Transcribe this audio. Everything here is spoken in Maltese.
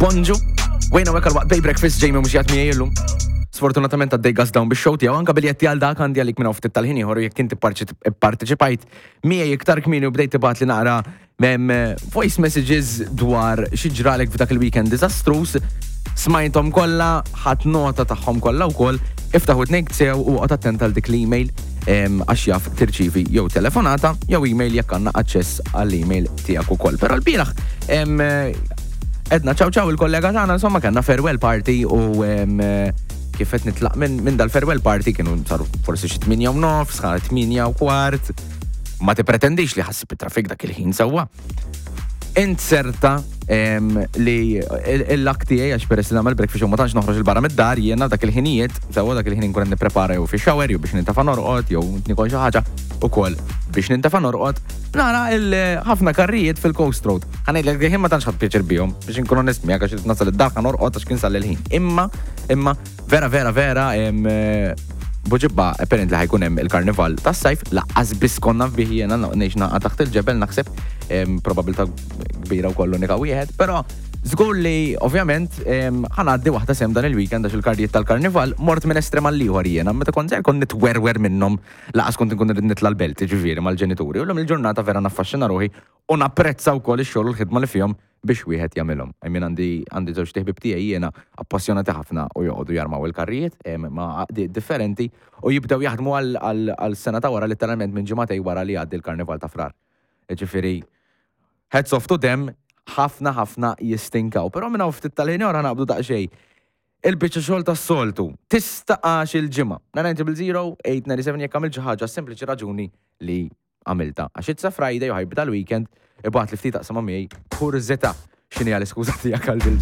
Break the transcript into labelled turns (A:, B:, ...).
A: Bonġu. Wejna wek għal-waqt Bay Breakfast Jamie mhux jgħat miegħi illum. Sfortunatament għaddej gas down bix-show tiegħu anke biljetti għal dak għandi għalik minn ftit tal-ħin ieħor jekk inti parteċipajt miegħi iktar kmieni u bdejt tibgħat li naqra voice messages dwar xi ġralek f'dak il-weekend diżastruż. Smajthom kollha, ħadd nota tagħhom kollha wkoll, iftaħ widnejk sew u oqgħod attent għal dik l-email għax jaf tirċivi jew telefonata jew email jekk għandna aċċess għall-email tiegħek ukoll. Però l-bieraħ edna ċaw ċaw il-kollega tagħna insomma kellna farewell party u kif qed nitlaq minn dal-farewell party kienu saru forsi xi 8 u nofs, 8 u kwart. Ma tippretendix li ħassib it-traffic dak il-ħin sewwa. Inzerta li l-lak tiegħi għax peress li nagħmel breakfast ma tantx noħroġ il-barra mid-dar jiena dak il-ħinijiet, sewwa dak il-ħin inkun qed nipprepara jew fi shower jew biex nintafa' norqod jew nikol xi ħaġa ukoll biex nintafa' norqod. Nara ħafna karrijiet fil-Coast Road. Ħa ngħidlek ħin ma tantx ħadd pjaċir bihom biex inkun onest miegħek għax nasal id-dar ħa norqod għax kien sal il-ħin. Imma imma Vera, vera, vera, Buġibba, apparently ħajkun hemm il-karnival tas-sajf, laqqas biss konna fih jiena ngħix naqa' taħt il-ġebel naħseb, probabilità kbira wkoll unika wieħed, però żgur li ovvjament ħanaddi waħda sem dan il-weekend għax il-kardijiet tal-karnival mort minn estrem għal ieħor jiena, meta kont żgħir kont nitwerwer minnhom laqas kont inkun irrid nitla' l-belt, ġifieri mal-ġenituri. U llum il-ġurnata vera naffaxxina ruħi u napprezza wkoll ix-xogħol u l-ħidma li fihom biex wieħed jagħmilhom. I mean għandi għandi żewġt iħbieb tiegħi jiena appassjonati ħafna u joqogħdu jarmaw il-karrijiet ma' għaqdiet differenti u jibdew jaħdmu għal sena ta' wara litteralment minn ġimagħtej wara li jgħaddi l-karnival ta' Frar. Jiġifieri hats off to them, ħafna ħafna jistinkaw. Però minn hawn ftit tal-ħin ieħor ħa naqbdu daqsxejn il-biċċa xogħol tas-soltu. Tista' għax il-ġimgħa. 900 897 jekk għamilt xi ħaġa sempliċi raġuni li għamiltha. Għax it's a Friday u ħajbda l-weekend, ibgħatli ftit aqsama miegħi kurżità x'inhi l-iskuża tiegħek għal dil.